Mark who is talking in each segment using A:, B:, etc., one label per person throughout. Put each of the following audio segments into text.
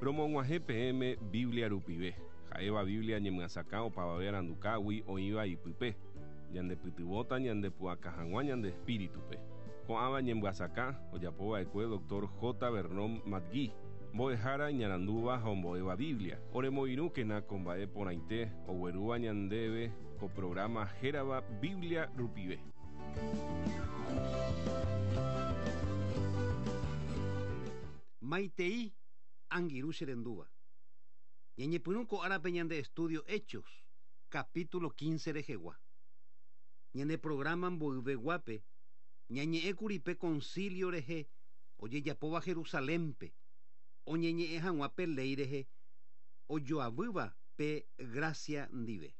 A: Romog̃uahẽ peẽme Biblia rupive, ha'éva Biblia ñemyasakã opavave arandukágui oĩva ipype, ñandepytyvõta ñandepu'aka hag̃ua ñande espíritupe. Ko'ãva ñemyasakã ojapova'ekue Dr. J. Vernon McGee, mbo'ehára iñarandúva ha ombo'éva Biblia. Oremoirũkena ko mba'e porãite oguerúva ñandéve ko programa hérava Biblia rupive.
B: Maitei, angirũ che rendúva. Ñañepyrũ ko árape ñande estudio Hechos, capítulo 15 rehegua. Ñane programa mboyveguápe, ñañe'ẽkuri pe concilio rehe ojejapóva Jerusalénpe, oñeñe'ẽ hag̃ua pe léi rehe ojoavýva pe gracia ndive.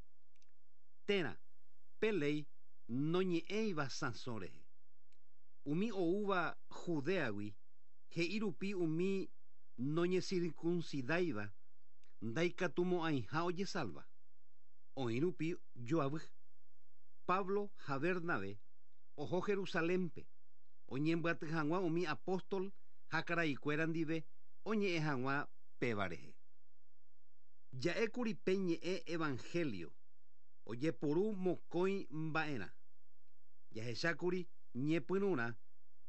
B: Térã, pe léi noñe'ẽiva sãso rehe. Umi oúva Judéagui he'i rupi umi noñesirkunsidáiva ndaikatumo'ãiha ojesalva. Oĩ rupi joavy. Pablo ha Bernabé oho Jerusalénpe oñembyaty hag̃ua umi apóstol ha karaikuéra ndive oñe'ẽ hag̃ua péva rehe. Ja'ékuri pe ñe'ẽ evangelio ojepuru mokõi mba'erã. Jahechákuri ñepyrũrã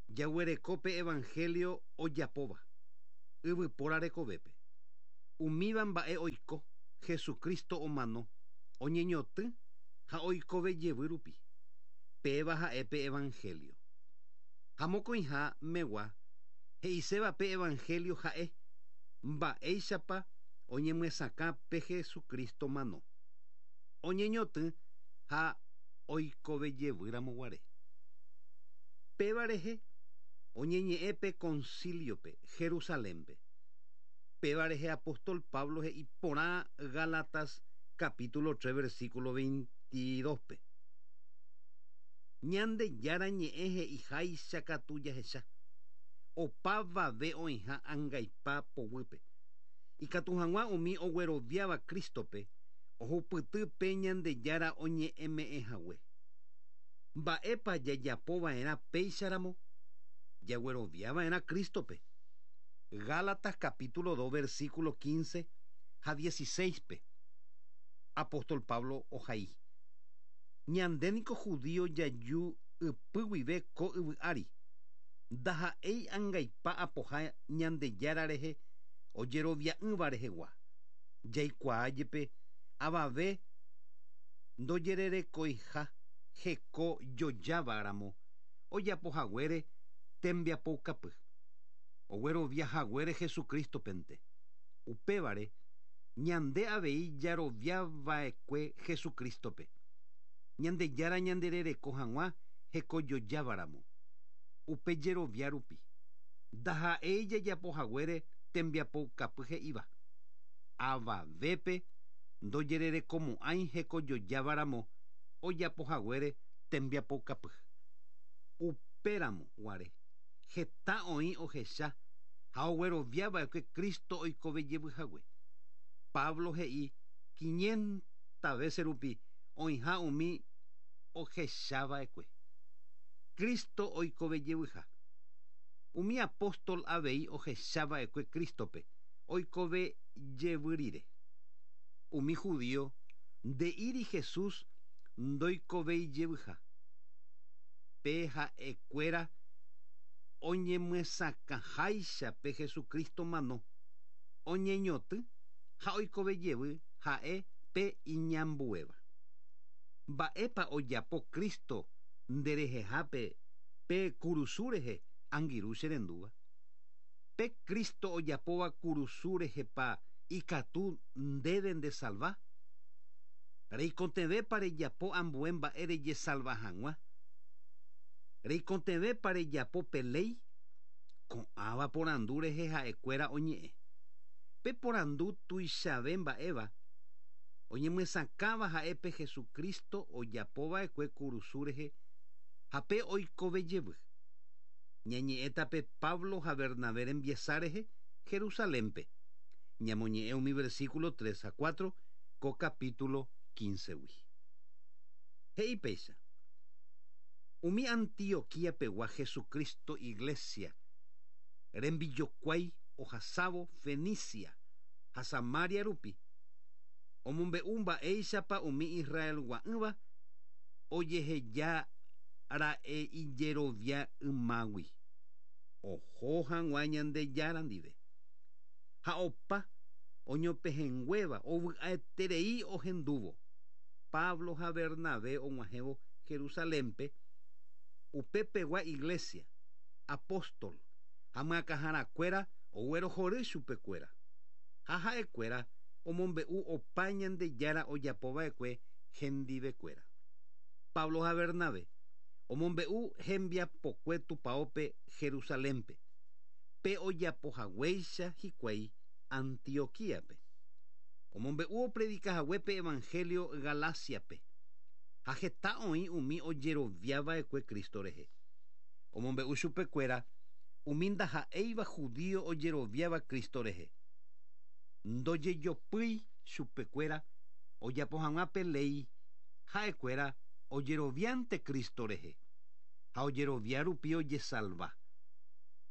B: jaguereko pe evangelio ojapóva yvypóra rekovépe. Umíva mba'e oiko Jesucristo omano, oñeñotỹ ha oikove jevy rupi. Péva ha'e pe evangelio. Ha mokõiha megua he'iséva pe evangelio ha'e mba'éichapa oñemyesakã pe Jesucristo mano, oñeñotỹ ha oikove jevýramo guare. Péva rehe oñeñe'ẽ pe concilio-pe Jerusalénpe. Péva rehe apóstol Pablo he'i porã Gálatas capítulo 3 versículo 22-pe. Ñandejára ñe'ẽ he'iháicha katu jahecha, opavave oĩha angaipa poguýpe. Ikatu hag̃ua umi ogueroviáva Crístope ohupyty pe Ñandejára oñe'ẽme'ẽhague. Mba'épa jajapova'erã péicharamo? Jagueroviava'erã Crístope. Gálatas capítulo 2 versículo 15 ha 16-pe, apóstol Pablo ohai: Ñande niko judío jaju ypy guive ko yvy ári, ndaha'éi angaipa apoha Ñandejára rehe ojerovia'ỹva rehegua. Jaikuaa jepe avave ndojererekoiha heko jojáva ramo ojapo haguére tembiapoukapy, oguerovia haguére Jesucrístopente. Upévare, ñande avei jarovia va'ekue Jesucrístope, Ñandejára ñanderereko hag̃ua hekojojáva ramo. Upe jerovia rupi, ndaha'éi jajapo haguére tembiapoukapy he'íva, Avavépe ndojererekomo'ãi hekojojáva ramo ojapo haguére tembiapoukapy. Upéramo guare, heta oĩ ohecha ha oguerovia va'ekue Cristo oikove jevy hague. Pablo he'i quinienta vése rupi oĩha umi ohecha va'ekue Cristo oikove jevyha. Umi apóstol avei ohecha va'ekue Crístope oikove jevy rire. Umi judío nde'íri Jesús ndoikovéi jevyha. Pe ha'ekuéra oñemyesakãháicha pe Jesucristo mano, oñeñotỹ ha oikove jevy ha'e pe iñambuéva. Mba'épa ojapo Cristo nderehehápe pe kurusu rehe, angirũ che rendúva? Pe Cristo ojapóva kurusu rehepa ikatu ndéve ndesalva? Reikotevẽpa rejapo ambue mba'e rejesalva hag̃ua? Reikotevẽpa rejapo pe léi? Ko'ãva porandu rehe ha'ekuéra oñe'ẽ. Pe porandu tuichave mba'éva oñemyesakãva ha'e pe Jesucristo ojapo va'ekue kurusu rehe ha pe oikove jevy. Ñañe'ẽta pe Pablo ha Bernabé rembiasa rehe Jerusalénpe. Ñamoñe'ẽ umi versículo 3 ha 4 ko capítulo 15-gui. He'i péicha, Umi Antioquía pegua Jesucristo iglesia rembijokuái ohasávo Fenicia. ha Samaria rupi. Omombe'u mba'éichapa umi Israelgua'ỹva ojeheja ra'e ijerovia ymágui. Oho hag̃ua Ñandejára ndive. Ha opa oñopehẽnguéva ovy'aeterei ohendúvo. Pablo ha Bernabé og̃uahẽvo Jerusalénpe, upepegua iglesia, apóstol ha myakãharakuéra oguerohory chupekuéra. Ha ha'ekuéra omombe'u opa Ñandejára ojapova'ekue hendivekuéra. Pablo ha Bernabé omombe'u hembiapokue tupaópe Jerusalénpe, pe ojapohaguéicha hikuái Antioquíape. Omombe'u opredikahague pe evangelio Galáciape, ha heta oĩ umi ojeroviava'ekue Cristo rehe. Omombe'u chupekuéra umi ndaha'éiva judío ojeroviáva Cristo rehe. Ndojejopýi chupekuéra ojapo hag̃ua pe léi ha'ekuéra ojeroviánte Cristo rehe ha ojerovia rupi ojesalva.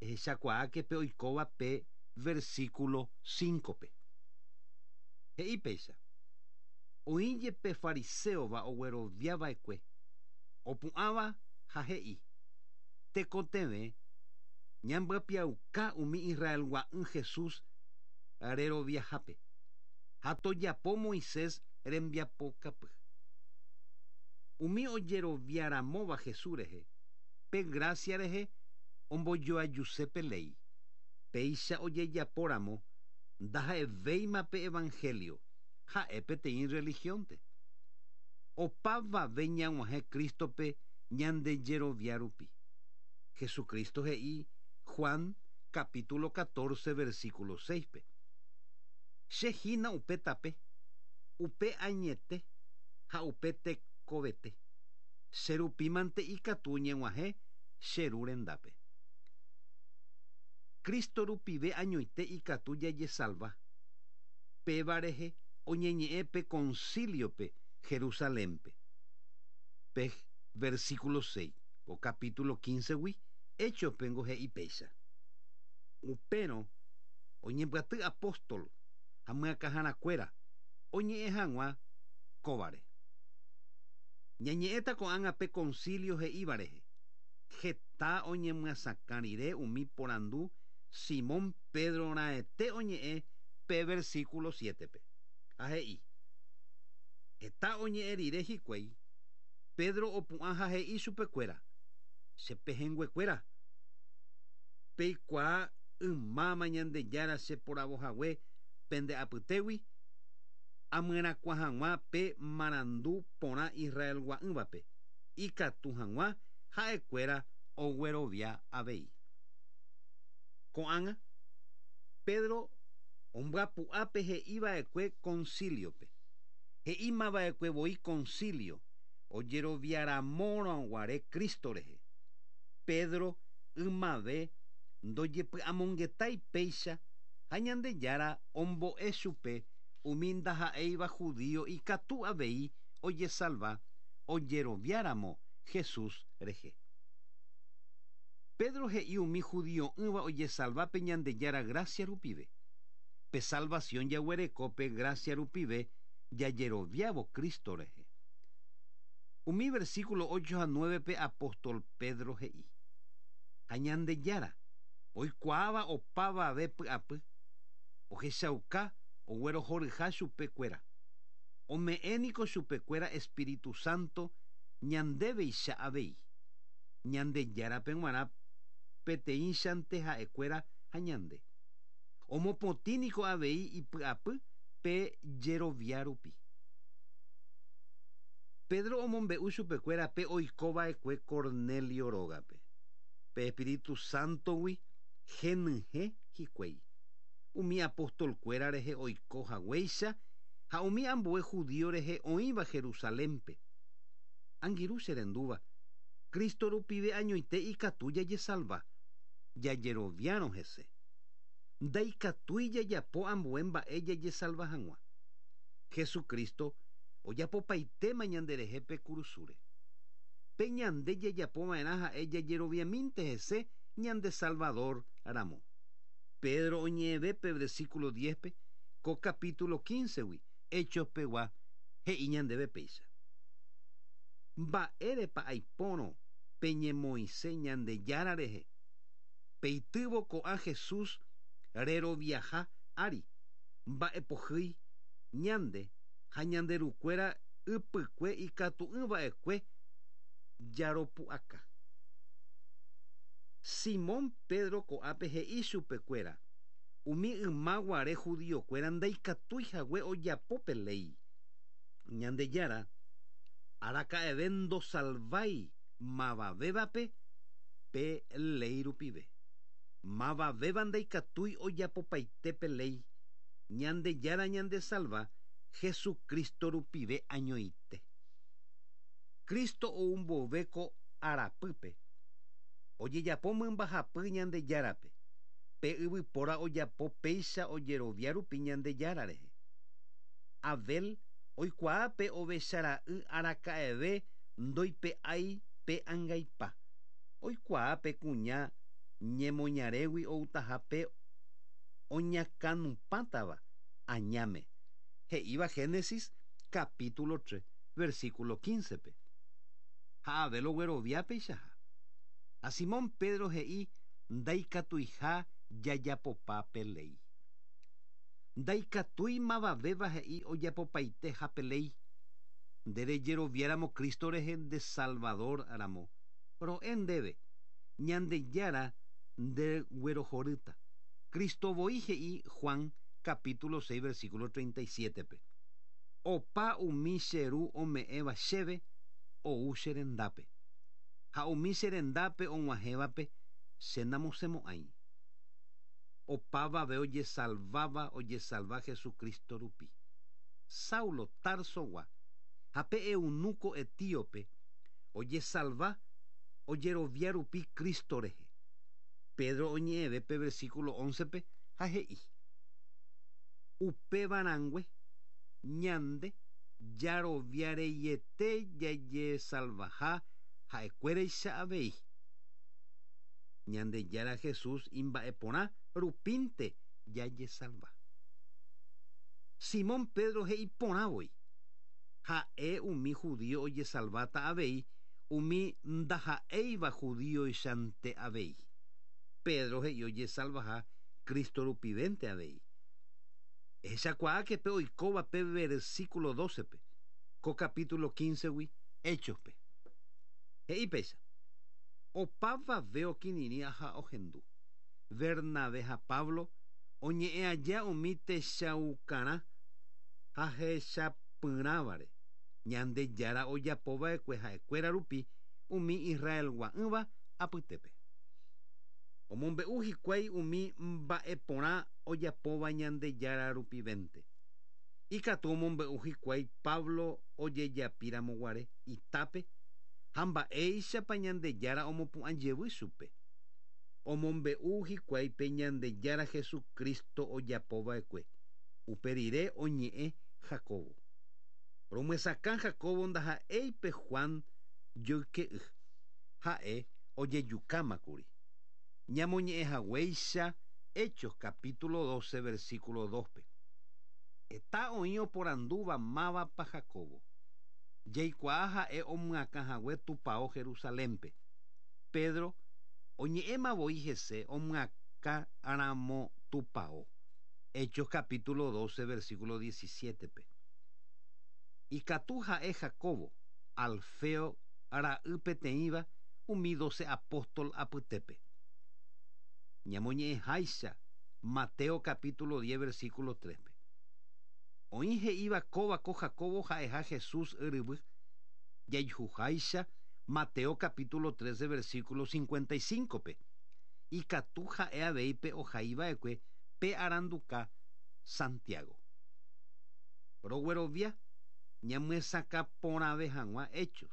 B: Ehechakuaáke pe oikóva pe versículo 5-pe. He'i péicha. Oĩ jepe fariséova ogueroviava'ekue, opu'ãva ha he'i, Tekotevẽ ñambyapiauka umi Israelgua'ỹ Jesús reroviahápe, ha tojapo Moisés rembiapokapy. Umi ojeroviaramóva Jesús rehe, pe gracia rehe ombojoajuse pe léi. Péicha ojejapóramo ndaha'evéima pe evangelio, ha'e peteĩ religiónte. Opavave ñag̃uahẽ Crístope ñandejerovia rupi. Jesucristo he'i Juan capítulo 14 versículo 6-pe. Che hína upe tape, upe añete ha upe tekovete. Che rupímante ikatu ñeg̃uahẽ che Ru rendápe. Cristo rupive añoite ikatu jajesalva. Péva rehe oñeñe'ẽ pe concilio-pe Jerusalénpe. Pe versículo 6 ko capítulo 15-gui Hechos-pe ngo he'i péicha. Upérõ oñembyaty apóstol ha myakãharakuéra oñe'ẽ hag̃ua kóvare. Ñañe'ẽta ko'ág̃a pe concilio he'íva rehe. Heta oñemyasakã rire umi porandu Simón Pedro raẽte oñe'ẽ pe versículo 7-pe. Ha he'i, Heta oñe'ẽ rire hikuái, Pedro opu'ã ha he'i chupekuéra, Che pehẽnguekuéra, peikuaa ymáma Ñandejára che poravohague pende apytégui amyerakuã hag̃ua pe marandu porã Israelgua'ỹvape, ikatu hag̃ua ha'ekuéra oguerovia avei. Ko'ág̃a, Pedro ombyapu'a pe he'iva'ekue concilio-pe. He'imava'ekue voi concilio ojeroviaramórõguare Cristo rehe. Pedro ymave ndojepy'amongetái péicha ha Ñandejára ombo'e chupe umi ndaha'éiva judío ikatu avei ojesalva ojeroviáramo Jesús rehe. Pedro he'i umi judio'ỹva ojesalva pe Ñandejára gracia rupive. Pe salvación jaguereko pe gracia rupive jajeroviávo Cristo rehe. Umi versículo 8 ha 9-pe apóstol Pedro he'i, Ha Ñandejára, oikuaáva opavave py'apy, ohechauka oguerohoryha chupekuéra. Ome'ẽ niko chupekuéra Espíritu Santo ñandéveicha avei. Ñandejárape g̃uarã peteĩchante ha'ekuéra ha ñande. Omopotĩ niko avei ipy'apy pe jerovia rupi. Pedro omombe'u chupekuéra pe oikova'ekue Cornelio rógape. Pe Espíritu Santo-gui henyhẽ hikuái. Umi apostolkuéra rehe oiko haguéicha ha umi ambue judío rehe oĩva Jerusalénpe. Angirũ che rendúva, Cristo rupive añoite ikatu jajesalva, jajeroviárõ hese. Ndaikatúi jajapo ambue mba'e jajesalva hag̃ua. Jesucristo ojapopaitéma ñanderehe pe kurusúre. Pe ñande jajapova'erã ha'e jajeroviamínte hese ñande Salvador ramo. Pedro oñe'ẽve pe versículo 10-pe, Ko capítulo 15-gui Hechos pegua he'i ñandéve péicha. Mba'érepa aipórõ peñemoĩse Ñandejára rehe, peitývo ko'ã Jesús reroviaha ári, mba'epohýi ñande ha ñande rukuéra ypykue ikatu'ỹ va'ekue jaropu'aka. Simón Pedro ko'ápe he'i chupekuéra umi yma guare judiokuéra ndaikatúi hague ojapo pe léi. Ñandejára araka'eve ndosalvái mavavévape pe léi rupive. Mavavéva ndaikatúi ojapopaite pe léi, Ñandejára ñandesalva Jesucristo rupive añoite. Cristo ou mbove ko arapýpe, ojejapo mymbahapy Ñandejárape, pe yvypóra ojapo péicha ojerovia rupi Ñandejára rehe. Abel oikuaa pe ovechara'y araka'eve ndoipe'ái pe angaipa. Oikuaa pe kuña ñemoñarégui outaha pe oñakãnupãtava añáme, he'íva Génesis capítulo 3, versículo 15-pe. Ha Abel oguerovia peichaha. Ha Simón Pedro he'i ndaikatuiha jajapopa pe léi. Ndaikatúi mavavéva he'i ojapopaiteha pe léi. Nde rejeroviáramo Cristo rehe nde Salvador ramo, ro'e ndéve, Ñandejára nde guerohorýta. Cristo voi he'i Juan capítulo 6 versículo 37-pe, Opa umi che Ru ome'ẽva chéve ou che rendápe, ha umi che rendápe og̃uahẽvape che namosẽmo'ãi. Opavave ojesalváva ojesalva Jesucristo rupi. Saulo Tarsogua ha pe eunuco etíope ojesalva ojerovia rupi Cristo rehe. Pedro oñe'ẽve pe versículo 11-pe ha he'i, Upéva rãngue, ñande jarovia reiete jajesalvaha ha'ekuéraicha avei. Ñandejára Jesús imba'eporã rupínte jajesalva. Simón Pedro he'i porã voi, Ha'e umi judío ojesalváta avei umi ndaha'éiva judíoichante avei. Pedro he'i ojesalvaha Cristo rupivénte avei. Ehechakuaáke pe oikóva pe versículo 12-pe, ko capítulo 15-gui Hechos-pe. He'i péicha. Opavave okirirĩ ha ohendu. Bernabé ha Pablo oñe'ẽ aja umi techaukarã ha hechapyrãvare, Ñandejára ojapo va'ekue ha'ekuéra rupi umi Israelgua'ỹva apytépe. Omombe'u hikuái umi mba'e porã ojapóva Ñandejára rupivénte. Ikatu omombe'u hikuái Pablo ojejapíramo guare itápe ha mba'éichapa Ñandejára omopu'ã jevy chupe. Omombe'u hikuái pe Ñandejára Jesucristo ojapo va'ekue. Upe rire oñe'ẽ Jacobo. Romyesakã Jacobo ndaha'éi pe Juan joyke'y. Ha'e ojejukáma kuri. Ñamoñe'ẽ haguéicha Hechos capítulo 12 versículo 2-pe. Heta oĩ oporandúva mávapa Jacobo. Jaikuaa ha'e omyakã hague tupao Jerusalénpe. Pedro oñe'ẽma voi hese omyakã ramo tupao. Hechos capítulo 12 versículo 17-pe. Ikatu ha'e Jacobo, Alfeo ra'y peteĩva umi doce apóstol apytépe. Ñamoñe'ẽháicha Mateo capítulo 10 versículo 3-pe. Oĩ he'íva kóva ko Jacobo ha'eha Jesús yryvy, jaijuháicha Mateo capítulo 13 versículo 55-pe. Ikatu ha'e avei pe ohai va'ekue pe aranduka Santiago. Roguerovia ñamyesakã porãve hag̃ua Hechos,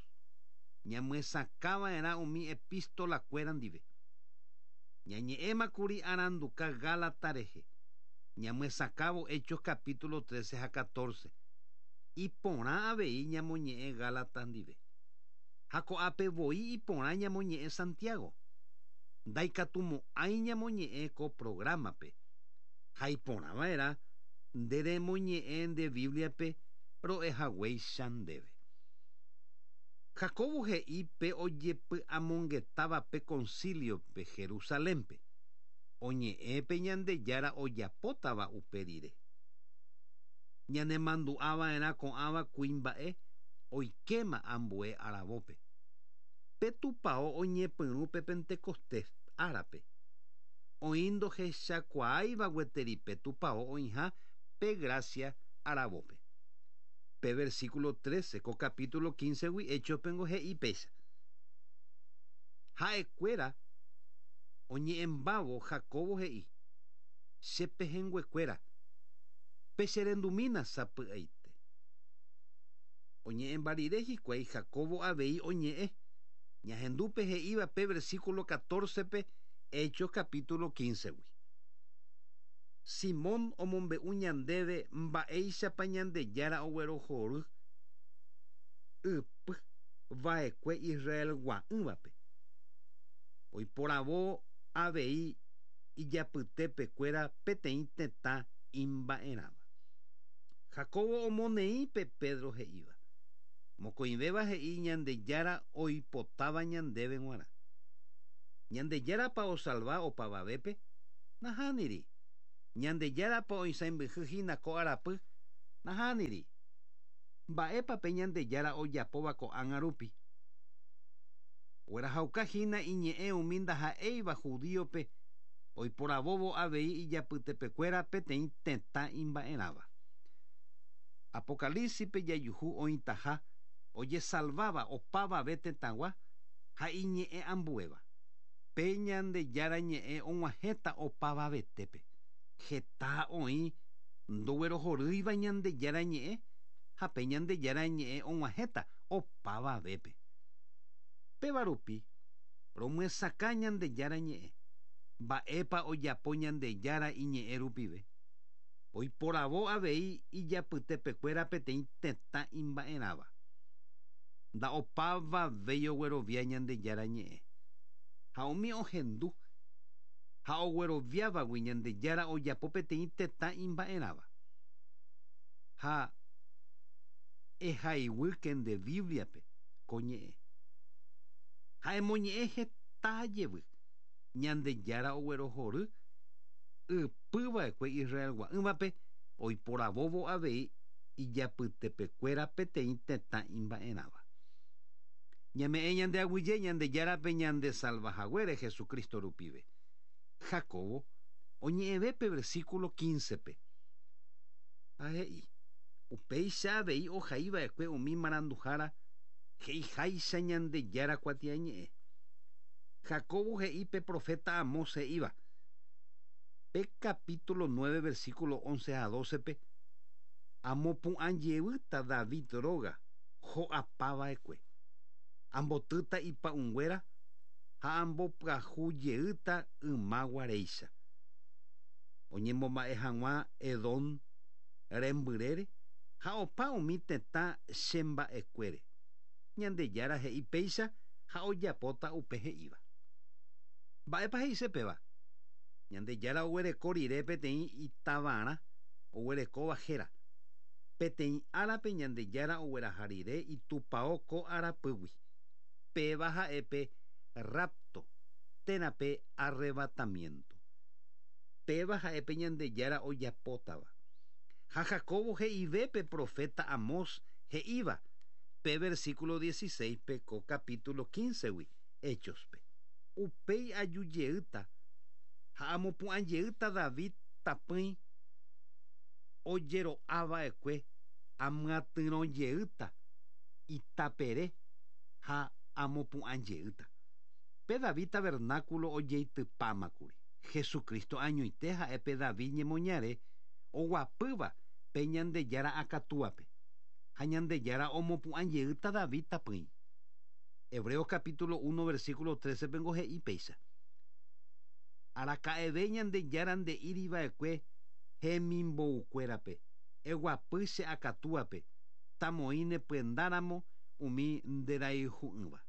B: ñamyesakã va'erã umi epístola kuéra ndive. Ñañe'ẽma kuri aranduka Gálata rehe, ñamyesakãvo Hechos capítulo 13 ha 14. Iporã avei ñamoñe'ẽ Gálatas ndive. Ha ko'ápe voi iporã ñamoñe'ẽ Santiago. Ndaikatumo'ãi ñamoñe'ẽ ko programa-pe. Ha iporã va'erã Nde remoñe'ẽ nde Bíbliape ro'ehaguéicha ndéve. Jacobo he'i pe ojepy'amongetáva pe concilio-pe Jerusalén-pe, oñe'ẽ pe Ñandejára ojapótava upe rire. Ñanemandu'ava'erã ko'ãva kuimba'e oikéma ambue aravópe. Pe tupao oñepyrũ pe Pentecostés árape. Oĩ ndohechakuaáiva gueteri pe tupao oĩha pe gracia aravópe. Pe versículo 13 ko capítulo 15-gui Hechos-pengo he'i péicha. Ha'ekuéra oñe'ẽmbávo Jacobo he'i, Che pehẽnguekuéra, pecherendumína sapy'aite. Oñe'ẽmba rire hikuái Jacobo avei oñe'ẽ, ñahendu pe he'íva pe versículo 14-pe Hechos capítulo 15-gui. Simón omombe'u ñandéve mba'éichapa Ñandejára oguerohory ypy va'ekue Israelgua'ỹvape. Oiporavo avei ijapytepekuéra peteĩ tetã imba'erãva. Jacobo omoneĩ pe Pedro he'íva. Mokõivéva he'i Ñandejára oipotáva ñandéve g̃uarã. Ñandejárapa osalva opavavépe? Nahániri. Ñandejárapa oisãimbyhy hína ko arapy? Nahániri. Mba'épa pe Ñandejára ojapóva ko'ág̃a rupi? Oguerahauka hína iñe'ẽ umi ndaha'éiva judíope oiporavóvo avei ijapytepekuéra peteĩ tetã imba'erãva. Apocalípsis-pe jajuhu oĩtaha ojesalváva opavave tetãgua ha iñe'ẽ ambuéva. Pe Ñandejára ñe'ẽ og̃uahẽta opavavetépe. Heta oĩ ndoguerohorýiva Ñandejára ñe'ẽ ha pe Ñandejára ñe'ẽ og̃uahẽta opavavépe. Péva rupi romyesakã Ñandejára ñe'ẽ, mba'épa ojapo Ñandejára iñe'ẽ rupive. Oiporavo avei ijapytepekuéra peteĩ tetã imba'erãva. Nda'opavavéi oguerovia Ñandejára ñe'ẽ. Ha umi ohendu ha ogueroviávagui Ñandejára ojapo peteĩ tetã imba'erãva. Ha ehaiguýke nde Bíbliape ko ñe'ẽ. Ha emoñe'ẽ heta jevy, Ñandejára oguerohory ypy va'ekue Israelgua'ỹvape oiporavóvo avei ijapytepekuéra peteĩ tetã imba'erãva. Ñame'ẽ ñande aguyje Ñandejárape ñandesalva haguére Jesucristo rupive. Jacobo oñe'ẽve pe versículo 15-pe. Ha he'i, Upéicha avei ohai va'ekue umi maranduhára he'iháicha Ñandejára kuatiañe'ẽ. Jacobo he'i pe proféta Amós he'íva, pe capítulo 9 versículo 11 ha 12-pe, Amopu'ã jevýta David róga ho'apa va'ekue, ambotýta ipa'ũnguéra ha ambopyahu jeýta yma guaréicha. Oñembomba'e hag̃ua Edom rembyrére ha opa umi tetã che mba'ekuére. Ñandejára he'i péicha ha ojapóta upe he'íva. Mba'épa he'ise péva? Ñandejára oguereko rire peteĩ itavarã oguerekóva héra. Peteĩ árape Ñandejára ogueraha rire itupao ko arapýgui. Péva ha'e pe rapto térã pe arrebatamiento. Péva ha'e pe Ñandejára ojapótava. Ha Jacobo he'ive pe proféta Amós he'íva pe versículo 16-pe ko capítulo 15-gui Hechos-pe. Upéi aju jeýta ha amopu'ã jeýta David tapỹi ojero'a va'ekue amyatyrõ jeýta itapere ha amopu'ã jeýta. Pe David tabernáculo ojeitypámakuri. Jesucristo añoite ha'e pe David ñemoñare oguapýva pe Ñandejára akatúape, ha Ñandejára omopu'ã jeýta David tapỹi. Hebreos capítulo 1 versículo 13 pengo he'i péicha. Araka'eve Ñandejára nde'íri va'ekue hemimboukuérape, Eguapy che akatúape, tamoĩ ne pyendáramo umi nderayhu'ỹva.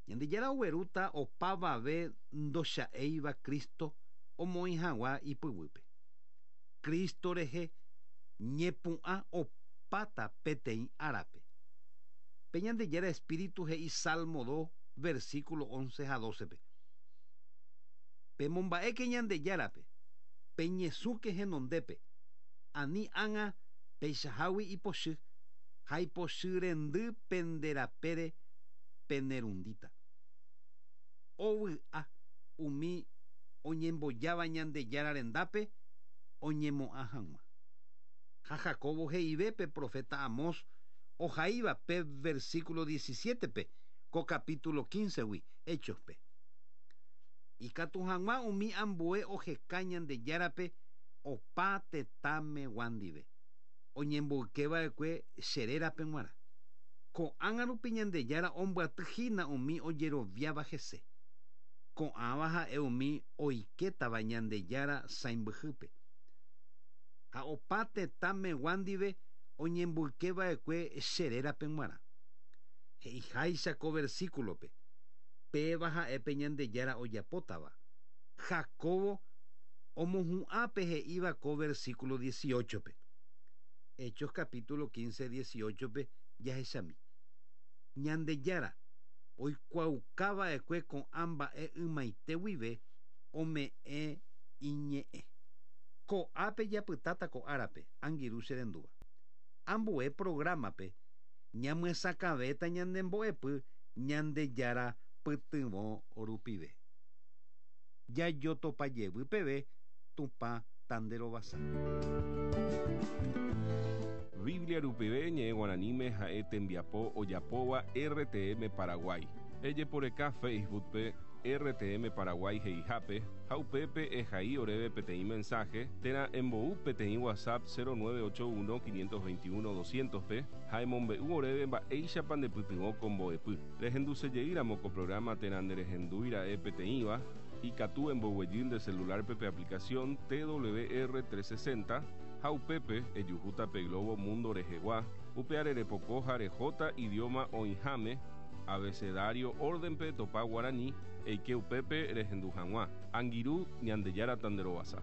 B: Ñandejára oguerúta opavave ndocha'éiva Cristo omoĩ hag̃ua ipyguýpe. Cristo rehe ñepu'ã opáta peteĩ árape. Pe Ñandejára Espíritu he'i Salmo 2, versículo 11 ha 12-pe. Pemomba'éke Ñandejárape, peñesũke henondépe, ani ág̃a peichahágui ipochy ha ipochy rendy pende rapére penerundíta. Ovy'a umi oñembojáva Ñandejára rendápe oñemo'ã hag̃ua. Ha Jacobo he'ive pe profeta Amós ohaíva pe versículo 17-pe ko capítulo 15-gui Hechos-pe. Ikatu hag̃ua umi ambue oheka Ñandejárape opa tetãmegua ndive, oñemboykeva'ekue che rérape g̃uarã. Ko'ág̃a rupi Ñandejára ombyatyhína umi ojeroviáva hese. Ko'ãva ha'e umi oikétava Ñandejára sãimbyhýpe. Ha opa tetãmegua ndive oñemboykeva'ekue che rérape g̃uarã. He'iháicha ko versículo-pe, Péva ha'e pe Ñandejára ojapótava. Jacobo omohu'ã pe he'íva ko versículo 18-pe. Hechos capítulo 15, 18-pe jahechami. Ñandejára oikuaaukava'ekue ko'ã mba'e ymaite guive ome'ẽ iñe'ẽ. Ko'ápe japytáta ko árape, angirũ che rendúva. Ambue programa-pe ñamyesakãvéta ñane mbo'epy Ñandejára pytyvõ rupive. Jajotopa jevy peve Tupã tanderovasa.
A: Biblia rupive ñe'ẽ guaraníme ha'e tembiapo ojapóva RTM Paraguay. Ejeporeka Facebook-pe RTM Paraguay he'ihápe ha upépe ehai oréve peteĩ mensaje térã embou peteĩ WhatsApp 0981 521 200-pe ha emombe'u oréve mba'éichapa ndepytyvõ ko mbo'epy. Rehendusejeýramo ko programa térã nderehendúira'e peteĩva, ikatu emboguejy nde celular-pe pe aplicación TWR 360 ha upépe ejuhúta pe globo mundo rehegua, upeare repoko ha rehóta idioma oĩháme, abecedario orden-pe topa guarani, eike upépe rehendu hag̃ua. Angirũ, Ñandejára tanderovasa.